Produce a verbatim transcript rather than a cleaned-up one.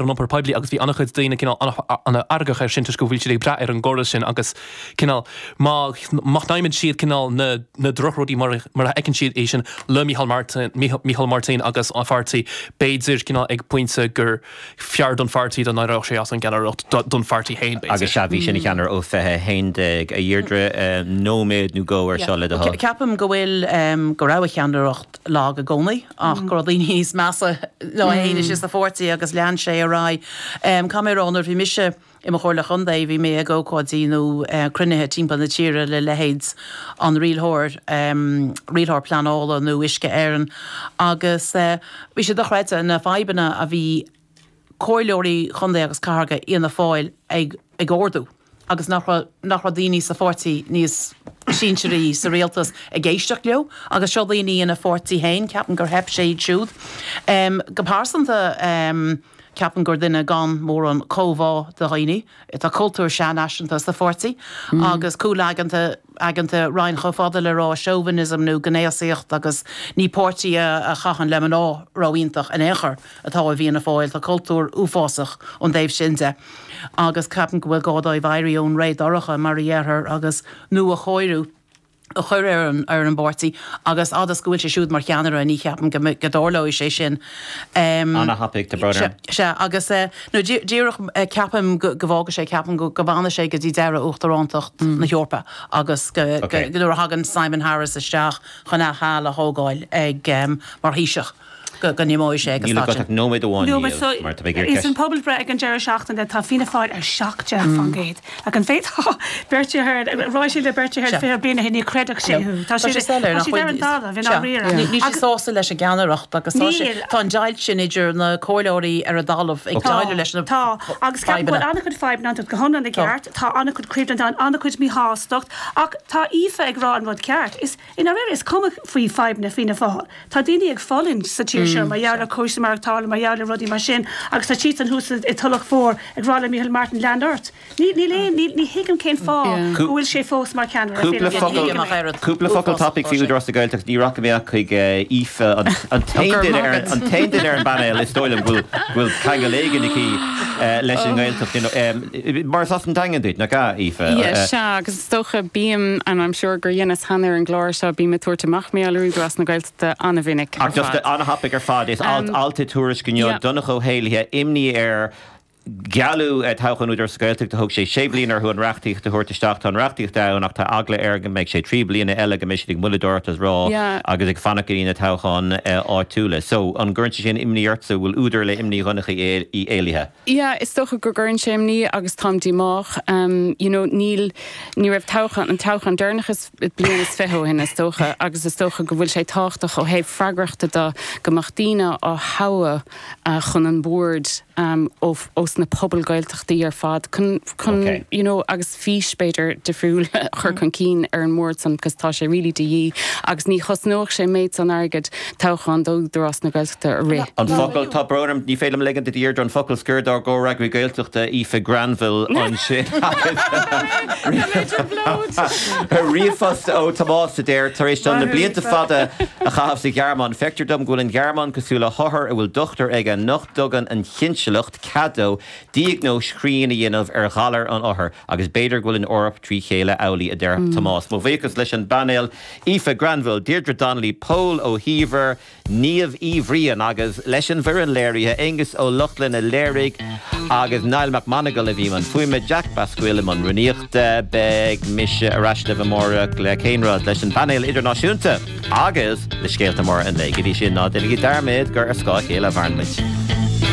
an iompar poiblí agus bhí an-chuid daoine cineál an-fheargach air sin toisc go bhfuil siad ag brath ar an gcóras sin agus cineál má má shnaidhmeann siad cineál na na drochrudaí mar mar a fheiceann siad é sin le Micheál Martin Micheál Martin agus an pháirtí b'fhéidir cineál ag pointe gur fearr don pháirtí dá n-éireodh sé as an gceannaireacht don pháirtí féin b'fhéidir. Agus sea bhí sé ina cheannaire ó fiche haon déag a Dheirdre nóiméad nó dhó ar seo le do thoil. Ceapaim go bhfuil go raibh a cheannaireacht lag i gcónaí ach go raibh daoine níos measa ná é féin istigh sa pháirtí agus lean sé ar aghaidh. Caithfidh mé a rá nuair bhí mise i mo chomhairleoir contae bhí mé ag ócáidí nó cruinnithe timpeall na tíre le leithéid an rialthóir rialthóir pleanála nó Uisce Éireann agus bhí sé dochreidte na fadhbanna a bhí comhairleoirí chontae agus cathrach Fhianna Fáil ag ag ardú agus nach raibh nach raibh daoine sa pháirtí níos sinsearaí sa rialtas ag éisteacht leo agus seo daoine ina pháirtí féin ceapaim gur theip sé iad siúd. Um, go pearsanta um, ceapaim gur duine gan mórán comhbhá do dhaoine, Tá cultúr seanfhaiseanta sa pháirtí mm. agus cúlaigeanta aigeanta raon chomh fada le rá chauvinism nó gnéasaíocht agus ní páirtí a chaitheann le mná ró-iontach in aon chor atá i bhFianna Fáil tá cultúr uafásach ón dtaobh sin de. agus ceapaim go bhfuil gá dóibh éirí ón ré dorcha mar a dhéarfar agus nuachóiriú a chur ar an ar an bpáirtí agus agus go bhfuil sé siúd mar cheannaire ní cheapaim go go dtarlóidh sé sin. Um, An-thapaidh tá brón. Se agus uh, nó díreach uh, ceapaim go bhfágfaidh sé ceapaim go go bhfanfaidh sé go dtí deireadh uachtarántacht mm. na hEorpa agus go okay. go, go thagann Simon Harris isteach chun a sheal a thógáil ag um, mar Thaoiseach. Go go n-imeoidh sé agus tá sin. Nóiméad amháin Niamh, mar tá mé ag Is an pobalbhreith ag an deireadh seachtaine tá Fianna Fáil ar seacht déag faoin gcéad. Ach an féadfá Bertie Ahern, rá sé le Bertie Ahern fiche bliain ó shin ní chreidfeadh sé thú. Tá sé tá siad ar an talamh i ndáiríre. Níl siad sásta leis an gceannaireacht agus tá sé tá an deighilt sin idir na comhairleoirí ar an dtalamh ag déileáil leis na Tá agus ceapaim go bhfuil an-chuid fadhbanna ann go hiomlán i gceart, tá an-chuid coimhlint ann, an-chuid míshástacht ach tá Aoife ag rá an rud ceart. Is i ndáiríre is cuma faoi fadhbanna Fianna Fáil. Tá daoine ag fulaingt sa tír seo mar gheall ar cúrsaí maireachtála, mar gheall ar rudaí mar sin agus tá siadsan thuas i Tulach Mhór ag rá le Micheál Martin lean ort. Ní níl aon ní ní thuigim cén fáth go bhfuil sé fós mar cheannaire Cúpla Fianna Fáil. focal Cúpla focal tapaidh faoi Údarás na Gaeltachta ní rachaidh mé ach chuig Aoife an an t-aon duine ar an t-aon duine ar an bpainéal is dóigh liom go bhfuil go bhfuil ceangal éigin aici leis an nGaeltacht you know mar is as an Daingean duit nach ea Aoife? Yeah, sea agus is dócha bím and I'm sure gur dheineas cheana ar an gclár seo bím ag tabhairt amach mar gheall ar Údarás na Gaeltachta an-mhinic ar Ach just fad. an-thapaidh ar fad is alt alt i Tuairisc inniu Yeah. Donncha Ó hÉallaithe imní air gealladh toghchán Údarás na Gaeltachta thóg sé sé bliana orthu an reachtaíocht a thabhairt isteach tá an reachtaíocht ann ach tá eagla air go mbeidh sé trí bliana eile go mbeidh siad ag moilleadóireacht is rá Yeah. agus ag fanacht go dtí na toghcháin áitiúla. So an gcuireann sé sin imní ortsa bhfuil údar le imní Dhonncha Uí Éallaithe? Yeah, is dócha go gcuireann sé imní agus táim díomách. Um, you know, níl ní raibh toghchán an toghchán deireanach is bliain is fiche ó shin is dócha agus is dócha go bhfuil sé tábhachtach ó thaobh freagrachta de go mbeadh daoine á thoghadh uh, chun an bord um, ó, ós na pobail Gaeltachtaí ar fad chun, chun Okay. you know, agus fís b'fhéidir difriúil chur chun cinn ar an mbord san cos tá sé really de dhíth agus ní chosnódh sé méid san airgead toghchán d'Údarás na Gaeltachta a rith. An focal tá brón orm ní féidir liom ligint Deirdre an focal scoir dár gcomhfhreagraí Gaeltachta Aoife Granville ansin. Ríomhphost ó Tomás a deir tar éis dom na blianta fada a chaitheamh sa Ghearmáin. Feictear dom go bhfuil an Ghearmáin cosúil le hothar a bhfuil dochtúir aige nach dtugann an chinsileacht cead dó diagnóis chruinn a dhéanamh ar ghalar an othair agus b'fhéidir go bhfuil an Eoraip trí chéile amhlaidh a deir Tomás. Mo bhuíochas leis an bpainéal Aoife Granville, Deirdre Donnelly, Pól Ó hÍomhair, Niamh Uí Bhriain agus leis an bhfoireann léirithe Aengus Ó Lochlainn a léirigh agus Niall Mac Monagail a bhí i mbun fuaime Jack Basquill i mbun rúnaíochta beidh mise ar ais libh amárach le cén rud leis an bpainéal idirnáisiúnta agus le scéalta móra an lae go dtí sin ná déanaigí dearmad gur ar scáth a chéile a mhaireann muid.